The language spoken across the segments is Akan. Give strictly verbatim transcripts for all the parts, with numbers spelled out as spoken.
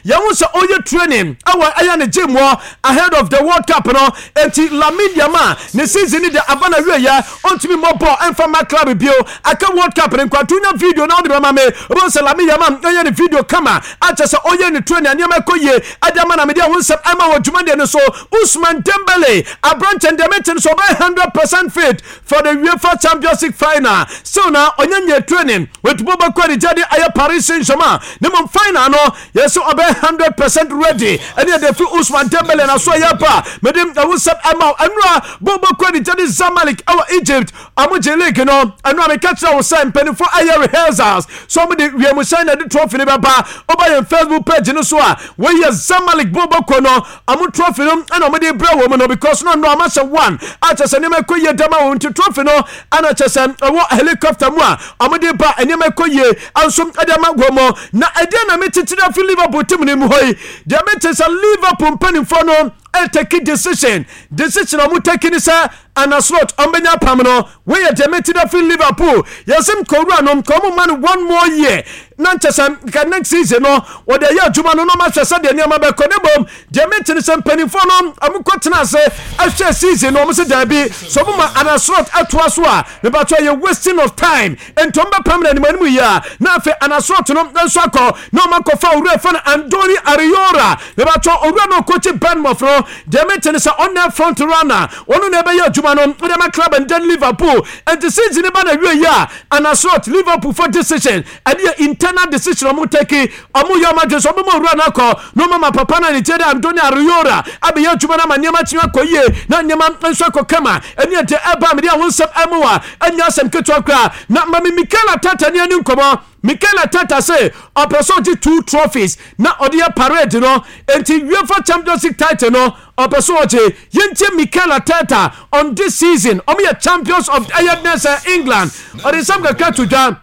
Yɛn sɛ ɔyɛ training ɛwɔ ɛyɛ ne gym wɔ ahead of the World Cup no. Enti Lamine Yamal ne season ni de aba na wie yɛ, ɔntumi mmɔ ball ɛnfa ma club bio. Aka World Cup ne nkwanto video na ɔde bɛma me. Ɔbɛn sɛ Lamine Yamal ɛyɛ ne video kama akyɛ sɛ ɔyɛ ne training, nneɛma ɛkɔ yie ɛde ama na mede ɛho nsɛm ɛma wɔ dwumadeɛ no so. Ousmane Dembele, aberanteɛ deɛ no so ɔbɛyɛ hundred percent fit for the UEFA Champions League final. Still na ɔnyɛ nyɛ training wetubo bɛkɔ ne gyade ɛyɛ Paris Saint-Germain ne mo final no, yɛsɛ ɔbɛyɛ hundred percent ready. Ɛne yɛde fi Ousmane Dembele na so ɛyɛ pa mede ɛho nsɛm ɛma ɛnura bɔ bɛkɔ ne gyade Zamalek ɛwɔ Egypt, ɔmo gye league no. Ɛno a meka kyerɛ wo sɛ mpanimfoɔ ayɛ rehearsals so ɔmo de wiemhyɛn na de trophy no bɛba. Ɔba yɛn Facebook page no so a, wɔyɛ Zamalek bɔ bɛkɔ no, ɔmo trophy no ɛna ɔmo de brɛ wɔ mu no, because no no ɔmo ahyɛ one akyɛ sɛ nneɛma ɛkɔ yie dɛm a wɔn nti trophy no ɛna kyɛ sɛ ɛwɔ helicopter mu a ɔmo de ba. Nneɛma ɛkɔ yie nso ɛde ama wɔ mu. Na ɛdeɛ na mekyekyere afi Liverpool team no mu hɔ yi deɛ, mete sɛ Liverpool mpanimfoɔ no ɛtake decision decision a ɔmo take ni sɛ Arne Slot ɔmbɛnya pam no. Wɔyɛ deɛ mete da fi Liverpool, yɛsɛm kɔwura no nka ɔmo ma no one more year na nkyɛ sɛ nka next season no wɔde ɛyɛ adwuma no na ɔmo ahwɛ sɛdeɛ nneɛma bɛkɔ. Ne bom deɛ mete ne sɛ mpanimfoɔ no ɔmo kɔ tena ase ahwɛ season no, ɔmo sɛ daabi, sɛ ɔmo ma Arne Slot atoa so a, mebatɔ yɛ wasting of time, nti ɔmo bɛpam no anim anim yie a na afei Arne Slot no nso akɔ na ɔmo akɔfa owura fɛ no Andoni Iraola. Mebatɔ owura no ɔkɔkyi Bournemouth no. Deɛ mete ne sɛ ɔnɛ front runner, ɔno na ɛbɛyɛ adwuma no ɔde ama club and then Liverpool. Nti season ba na wie yi a, Arne Slot, Liverpool for decision, ɛde yɛ internal decision ɔmo take, ɔmo yɛ ɔmo adwene sɛ ɔmo ma owura no akɔ na ɔmo ma papa no ne kyerɛ dɛ Andoni Iraola abɛyɛ adwuma no ama nneɛma kyerɛ akɔ yie na nneɛma nso akɔ kama. Ɛne ɛde ɛba mede aho nsɛm ɛmo a ɛnyɛ asɛm ketewa koraa. Na mame Mikel Arteta ne ani nkɔmmɔ. Mikel Arteta sɛ ɔpɛ sɛ ɔgye two trophies na ɔde yɛ parade no, nti UEFA Champions League title no ɔpɛ sɛ ɔgye. Yɛntie Mikel Arteta on this season, ɔmo yɛ champions of ɛyɛ dɛ sɛ England. Ɔde nsɛm kakra to dwa,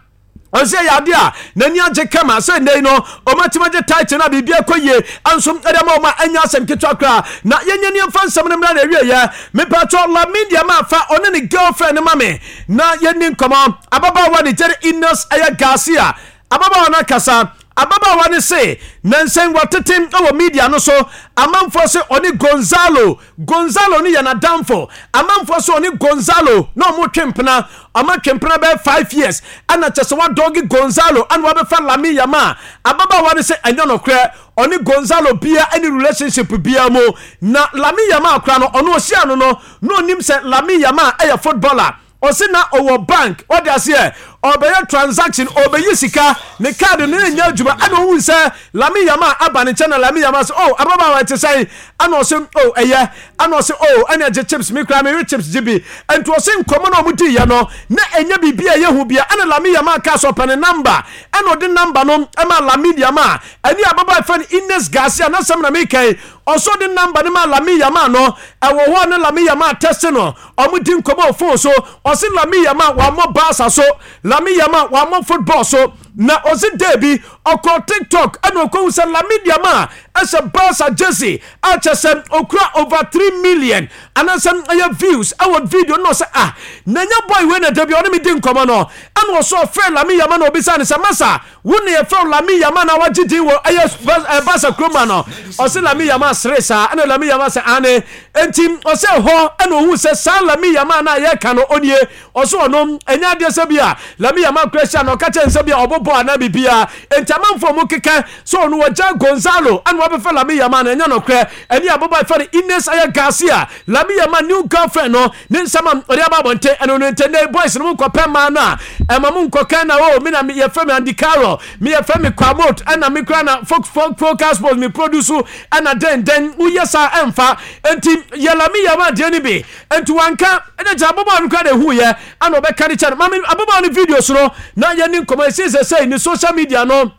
ɔsɛ yɛ ade a n'ani agye kama sɛ nnɛ yi no ɔmatumi agye title no a biribi akɔ yie nso ɛde ma ɔma anya asɛm ketewa koraa. Na yɛnyɛ nneɛmfa nsɛm no mmra na awieyɛ. Mepatɔ Lamine Yamal fa ɔne ne girlfriend no ma me na yɛni nkɔmmɔ. Ababaawa ne gyere Ines ɛyɛ Garcia. Ababaawa no akasa. Ababaawa no se nansɛn wɔtete wɔ media no so, amanfoɔ sɛ ɔne Gonzalo, Gonzalo no yɛ n'adamfo, amanfoɔ sɛ ɔne Gonzalo na ɔmo twe mpena, ɔmo atwe mpena bɛyɛ five years, ɛna kyɛ sɛ wadɔge Gonzalo ɛna wabɛfa Lamine Yamal. Ababaawa no sɛ ɛnyɛ nokorɛ, ɔne Gonzalo bia ɛne relationship bia mu, na Lamine Yamal kora no, ɔno ɔhyia no no na onim sɛ Lamine Yamal ɛyɛ footballer. Ɔsi na ɔwɔ bank, ɔde aseɛ ɔbɛyɛ transaction, ɔbɛyi sika, ne card no ne nyɛ adwuma, ɛna ohun sɛ Lamine Yamal aba ne nkyɛn, na Lamine Yamal sɛ, "Oh, ababaawa, ɛte sɛn?" Ɛna ɔsɛ, "Oh, ɛyɛ." Ɛna ɔsɛ, "Oh, ɛna ɛgye chips, mi kura mi ri chips gye bi." Nti ɔsɛ nkɔmɔ na ɔmo di yɛ no na ɛnyɛ biribi a ɛyɛ hu bia. Ɛna Lamine Yamal kaa sɛ ɔpɛ ne number, ɛna ɔde number no ɛma Lamine Yamal. Ɛne ababaawa fɛn Ines Garcia n'asɛm na mi kɛn, ɔsɔ de number no ma Lamine Yamal no, ɛwɔ hɔ a ne Lamine Yamal text no, ɔmo di nkɔmɔ wɔ phone so. Ɔsi Lamine Yamal wamɔ Barca so, Lamine Yamal wamɔ football so, na ɔsi deebi ɔkɔ TikTok ɛna ɔkɔhu sɛ Lamine Yamal ɛhyɛ Barca jersey a kyɛ sɛ okura over three million anaasɛ ɛyɛ views ɛwɔ video no. Ɔsɛ, "Ah, na nya boy wei na dabi ɔne mi di nkɔmɔ no." Ɛna ɔsɔ ɔfrɛ Lamine Yamal na obisa ne sɛ, "Masa, wo ne yɛfrɛ Lamine Yamal na wagye din wɔ ɛyɛ Barca kuroma no?" Ɔsɛ Lamine Yamal sere saa, ɛna Lamine Yamal sɛ ane. Enti ɔsɛ hɔ ɛna ohun sɛ saa Lamine Yamal na yɛka no onie. Ɔsɛ ɔno ɛnyɛ adeɛ sɛ bi a Lamine Yamal kura hyia na ɔka kyerɛ nsɛ bi a ɔbɔ bɔɔl anaa biribiara. Enti amanfoɔ mu keka sɛ ɔno wɔgya Gonzalo ɛna wabɛfɛ Lamine Yamal no, ɛnyɛ nokorɛ. Ɛne ababaa fɛ no Ines ɛyɛ Garcia, Lamine Yamal new girlfriend no, ne nsɛm a ɔde aba abɔnten ɛno no. Nti ne boys no mu nkɔpɛ mmaa no a ɛma mu nkɔka na o mi na yɛfrɛ me Andy Carroll, mi yɛfrɛ me Kwamot, ɛna mi kura na Fox Focus Sports mi produce, ɛna den den woyɛ saa ɛmfa. Nti yɛ Lamine Yamal deɛ no bi nti wanka ɛna kyerɛ ababaawa no kura na ehu yɛ ɛna ɔbɛka ne kyɛ no. Maame ababaawa no video so no na yɛne nkɔmɔ esi sɛ sɛ ne social media no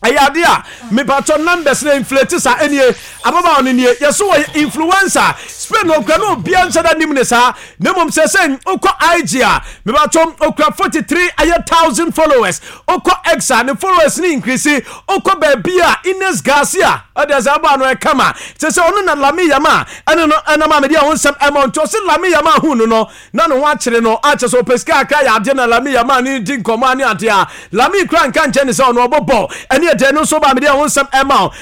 ɛyɛ ade a mepatɔ numbers na inflate saa. Ɛnie ababaawa no nie, yɛso wɔ influencer Spain na okura no, obiara nhyɛ da nim ne saa, na mmom sɛ sɛ okɔ I G a, mepatɔ okura forty three ɛyɛ thousand followers. Okɔ X a, ne followers ne increase. Okɔ baabi a Ines Garcia ɔde ɛsɛ ababaawa no ɛkama kyɛ sɛ ɔno na Lamine Yamal ɛne no ɛnam a mede ɛho nsɛm ɛma. Nti ɔsɛ Lamine Yamal hu no no na ne ho akyere no akyɛ sɛ ɔpɛ sika akra yɛ adeɛ, na Lamine Yamal ne di nkɔmmɔ ne adeɛ a Lamine kura nka nkyɛn ne sɛ ɔno ɔbɔ bɔɔl. Ɛne ɛdeɛ no nso ba mede ɛho nsɛm ɛma o.